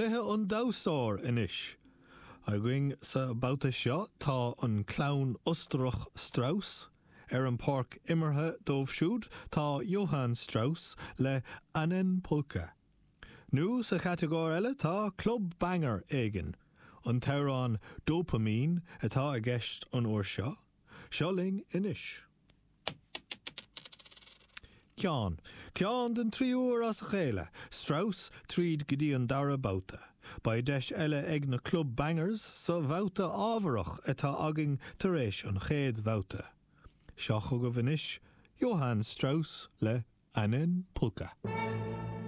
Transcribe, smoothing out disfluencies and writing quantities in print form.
Cluiche an Damhsóir anois. Againn sa babhta seo tá an clann Ostarach Strauss. Ar an páirc imeartha dóibh siúd tá Johann Strauss le Einen Polka. Nó sa chatagóir eile tá club banger éigin. An t-amhrán Dopamine atá i gceist an uair seo. Seo linn anois. Ceann. Ceann den tríú huair as a chéile. Strauss tríd go dtí an dara babhta. Beidh deis eile ag na Club Bangers sa bhabhta ámharach atá againn tar éis an chéad bhabhta. Seo chugaibh anois Johann Strauss le Einen Polka.